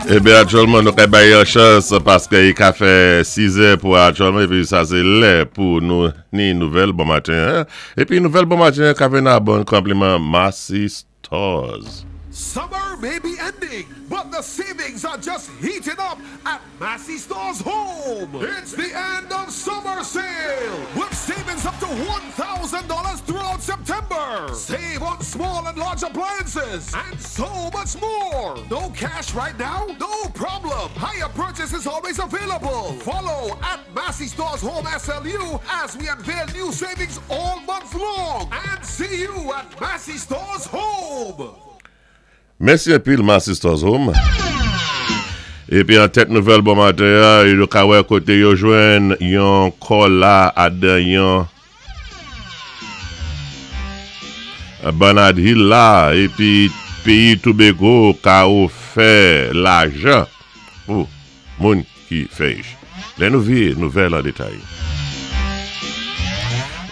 Eben aktyèlman nou ka bay yon chans paske i ka fè 6 è pou aktyèlman epi sa se lè pou nou ni nouvèl bon maten an. Epi nouvèl bon maten an ka vin a bon konpliman Massy Stores. Summer may be ending, but the savings are just heating up at Massy Stores Home. It's the end of summer sale with savings up to $1,000 throughout September. Save on small and large appliances and so much more. No cash right now? No problem. Higher purchase is always available. Follow at Massy Stores Home SLU as we unveil new savings all month long. And see you at Massy Stores Home. Mèsi anpil Massy Stores Home. Epi an tèt nouvèl bon maten an, yo ka wè kote yo jwenn yon kò la adan yon Bernard Hill la epi peyi Tobago ka ofè lajan pou moun ki fè ich. Lè nou vye nouvèl an detay.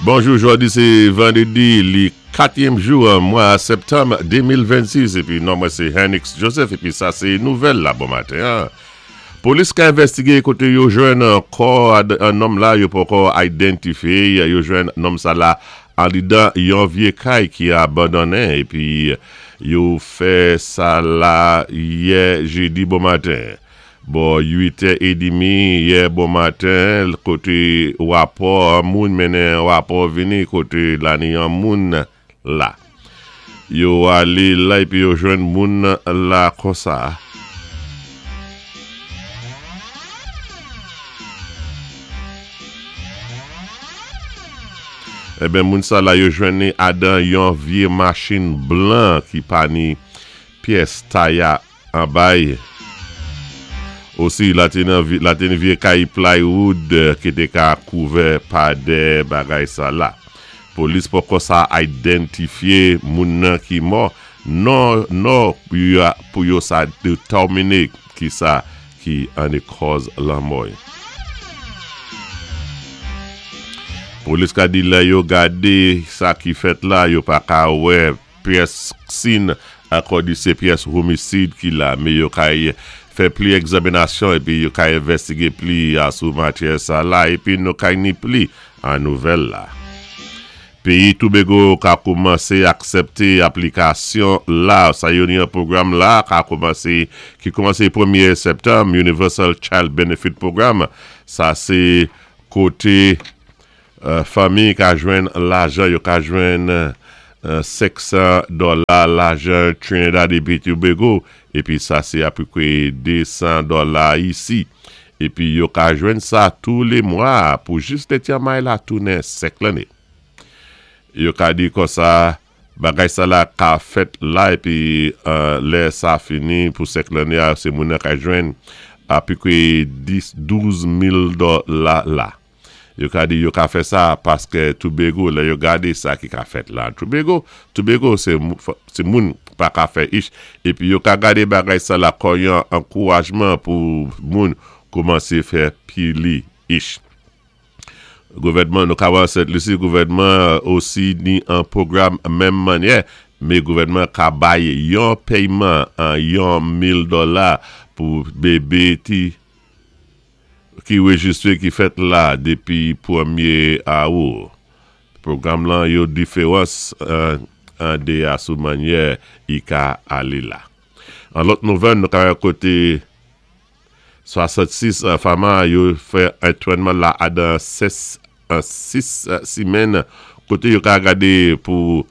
Bonjou jodi se vandredi li katyèm jou mwa septanm 2026 epi non mwen se Hennix Joseph epi sa se nouvèl la bon maten an. Polis ka envèstige kote yo jwenn kò an nonm la yo poko identifye yo jwenn nonm sa la andedan yon vye kay ki abandonnen epi yo fè sa la yè jedi bon maten. Bò 8 è edimi yè bon maten kote rapò an moun mennen rapò vini kote lani an moun la. Yo ale la epi yo jwenn moun la konsa. Enben moun sa la yo jwenn li adan yon vye machin blan ki pa ni pyès taya Anbay. Osi, la te nan la te ni vye kay plywood ki te ka kouvè pa dè bagay sa la. Polis poko sa identifye moun nan ki mò non nò pou yo sa detèmine ki sa ki ane kòz lanmò y. Polis ka di lè yo gade sa ki fèt la yo pa ka wè Pyès sin akò di se pyès homisid ki la me yo kay fè pli egzaminasyon epi yo kay envèstige pli a sou matyè sa la epi nou kay ni pli a nouvèl la. Peyi Toubego ka koumanse aksèpte aplikasyon la sa yo ni an pwogram la ka koumanse ki koumanse premye septanm Universal Child Benefit Program sa se kote Fanmi ka jwenn lajan yo ka jwenn 500 dòla lajan Trinidad epi Tobago epi sa se apeprè 200 dòla isi epi yo ka jwenn sa tou le mwa pou jis lè tyamay la tounen 5 lanne. Yo ka di konsa bagay sa la ka fèt la epi lè sa fini pou 5 lanne a se moun nan ka jwenn apeprè 10 12 mil dòla la. Yo ka di yo ka fè sa paske Toubego lè yo gade sa ki ka fèt la Toubego, Toubego se se moun pa ka fè ich epi yo ka gade bagay sa la kò yon ankourajman pou moun koumanse fè pili ich. Gouvènman nou ka wè Sent Lisi gouvènman osi ni an pwogram menm mannyè me gouvènman ka bay yon peyman an yon 1000 dòla pou bebe ti ki rejistre ki fèt la depi premye awou. Pwogram lan yo diferans an de a sou manyè i ka ale la. An lòt nouvèl nou ka wè kote 66 fama yo fè antrènman la adan 6 simenn kote yo ka gade pou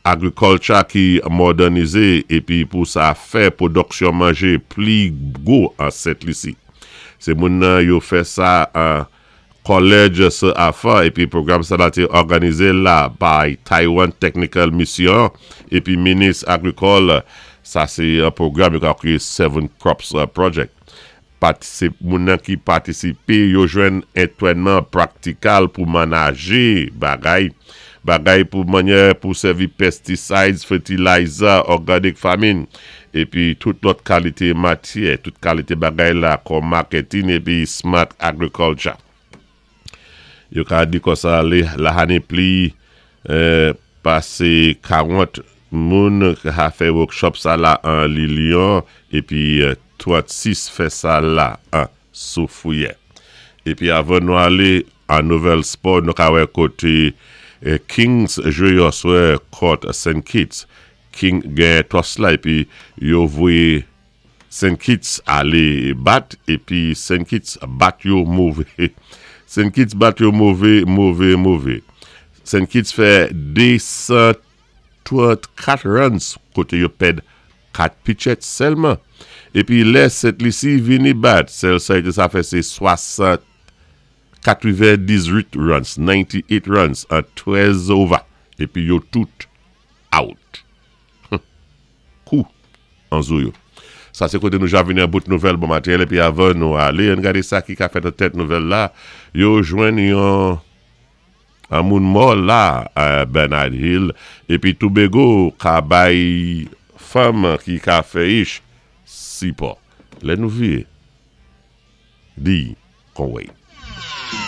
Agriculture ki mòdènize epi pou sa fè pwodòksyon manje pli gwo an Sent Lisi. Se moun nan yo fè sa an Kòlèj Sir Arthur epi pwogram sa la te òganize la by Taiwan Technical Mission epi Minis Agrikòl sa se yon pwogram yo ka kriye Seven Crops Project. Patisip Moun nan ki patisipe yo jwenn entrènman praktikal pou manaje bagay bagay pou manyè pou sèvi pesticides, fertilizer, organic farming, epi tout lòt kalite matyè, tout kalite bagay la kòm marketing epi smart agriculture. Yo ka di konsa li lahane pli pase 40 moun ka fè workshop sa la an li Lyon epi. 36 fè sa la an Soufrière. Épi avan nou alé an nouvèl spò, nou ka wè koté Kings jwé yèswè kont Saint Kitts. King genyen toss la épi yo voyé Saint Kitts alé bat épi Saint Kitts bat yo mové. Saint Kitts bat yo mové, mové, mové. Saint Kitts fè 234 runs koté yo pèd 4 pitchèt sèlman. Épi lè Sent Lisi vini bat, sèl sa yo té sa fè sé 60 98 runs, 98 runs an 13 over. Épi yo tout out. Kou an zo yo. Sa sé koté nou ja vini an bout nouvèl bon maten. Épi avan nou alé, ann gadé sa ki ka fèt an tèt nouvèl la. Yo jwenn yon an moun mò la Bernard Hill. Épi Tobago ka bay fanm ki ka fè ich sipò. Lè nou vié, di kon wé.